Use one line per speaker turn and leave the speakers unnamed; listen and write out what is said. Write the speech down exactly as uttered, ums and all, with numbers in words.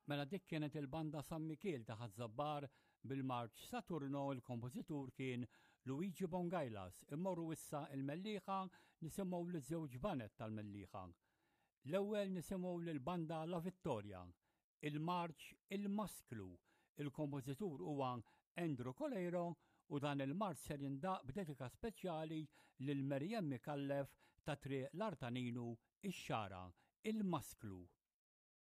Mela dik kienet il-banda San Mikiel ta' Ħaż-Żabbar bil-marċ Saturno il-kompożitur kien Luigi Bongailas. Immorru issa il-Mellieħa nisimgħu li żewġ baned tal-Mellieħa. L-ewwel nisimgħu lil-banda La Vittoria, il-marċ Il-Masklu. Il-kompożitur huwa Andrew Coleiro u dan il-marċ ser jindaq b'dedika speċjali lil Merjem Mikallef ta' Triq l-Artaninu ix-Xagħra, Il-Masklu.